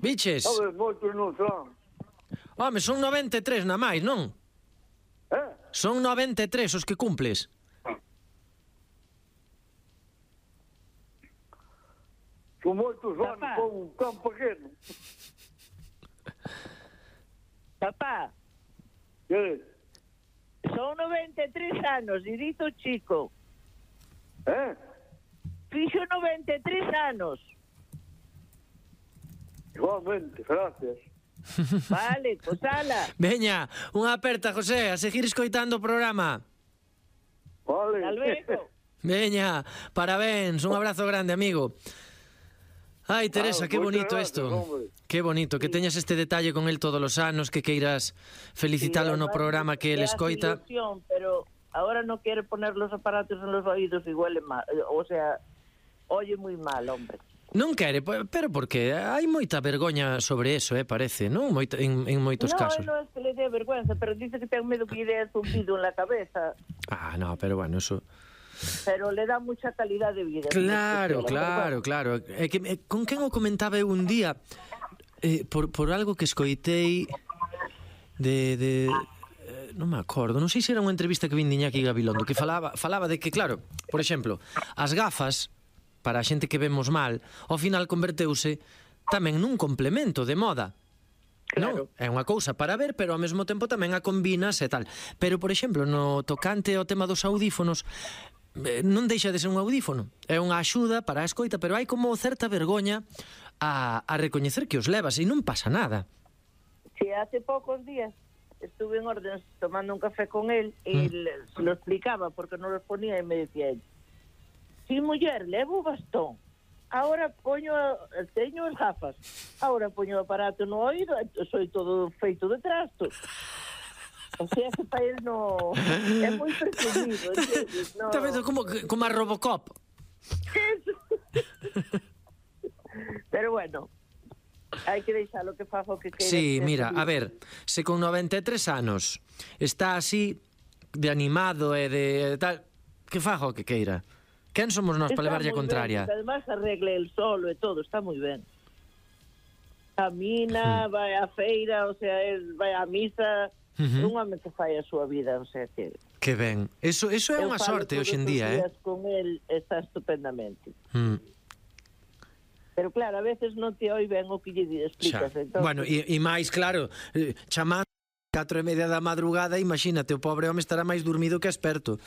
Biches? Sabe, moitos non son. Home, son 93 na máis, non? Son 93 os que cumples. Son moitos anos con un tan pequeno. Papá, Que? son 93 anos, e dito chico. Fixo 93 anos. Igualmente, gracias. Vale, pues ala. Veña, unha aperta, José, a seguir escoitando o programa. Vale. Hasta luego. Veña, parabéns, un abrazo grande, amigo. Ai, Teresa, que bonito isto. Que bonito, que teñas este detalle con el todos os anos, que queiras felicitalo no programa que el escoita. Ilusión, pero ahora no quiere poner los aparatos en los oídos y huele mal. O sea, oye muy mal, hombre. Non quere, pero porque hai moita vergoña sobre eso, parece, non? En moitos casos. No es que le dé vergüenza, pero dice que ten medo que lle dé zumbido en la cabeza. Ah, no, pero bueno, eso... Pero le da mucha calidad de vida. Claro. É que, con quen o comentaba eu un día, por algo que escoitei non me acordo, non sei se era unha entrevista que vin de Iñaki Gabilondo, que falaba de que, claro, por exemplo, as gafas, para a xente que vemos mal, ao final converteuse tamén nun complemento de moda. Claro. Non? É unha cousa para ver, pero ao mesmo tempo tamén a combinas e tal. Pero, por exemplo, no tocante ao tema dos audífonos, non deixa de ser un audífono. É unha axuda para a escoita, pero hai como certa vergoña a recoñecer que os levas e non pasa nada. Sí, hace pocos días estuve en órdenes tomando un café con él y se lo explicaba porque no los ponía y me decía él: sí, muller, levo bastón, ahora teño as gafas, ahora poño o aparato no oído, soy todo feito de trastos. O sea que para él no é moi presumido, ¿entiendes? No. Está vendo como a Robocop. Pero bueno, hai que deixar o que faga o que queira. Sí, mira, a ver, se con 93 anos está así de animado e de tal, que faga o que queira. Quen somos nós para levarlle a contraria? Ben, además arregle el solo e todo, está moi ben. Camina, vai á feira, o sea, vai á misa, un home que fai a súa vida, o sea que... Que ben, eso é unha sorte hoxe en día, con el está estupendamente. Pero claro, a veces non te oi ben o que lle explicas. Entonces... Bueno, e máis, claro, chamando 4:30 da madrugada, imagínate, o pobre home estará máis dormido que experto.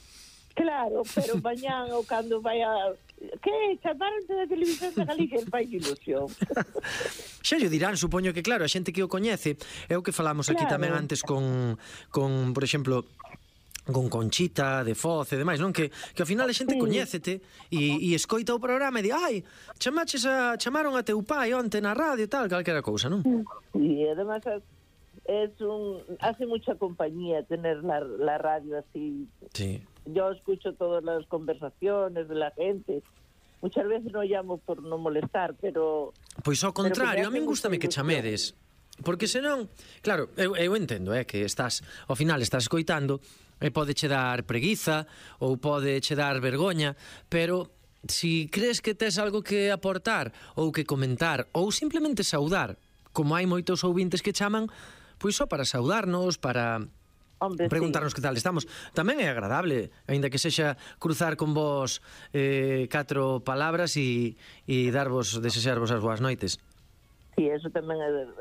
Claro, pero mañán ou cando vai a... Que? Chamarante da televisión de Galicia, el fai ilusión. Xa lle dirán, supoño que claro, a xente que o coñece, é o que falamos aquí tamén antes con por exemplo, con Conchita, de Foz e demais, non? Que ao final a xente coñécete e escoita o programa e di, ai, chamaron a teu pai onte na radio e tal, calquera cousa, non? E además hace mucha compañía tener la radio así. Sí. Yo escucho todas las conversaciones de la gente. Muchas veces no llamo por no molestar, pero... Pois ao contrario, a min gústame que chamedes. Porque senón, claro, eu entendo, que estás, ao final estás escoitando e pode che dar preguiza ou pode che dar vergoña, pero si crees que tes algo que aportar ou que comentar ou simplemente saudar, como hai moitos ouvintes que chaman, pois só para saudarnos, para... Hombre, preguntarnos que tal estamos. Tamén é agradable, aínda que sexa cruzar con vos 4 palabras e desexarvos as boas noites. Sí, eso tamén é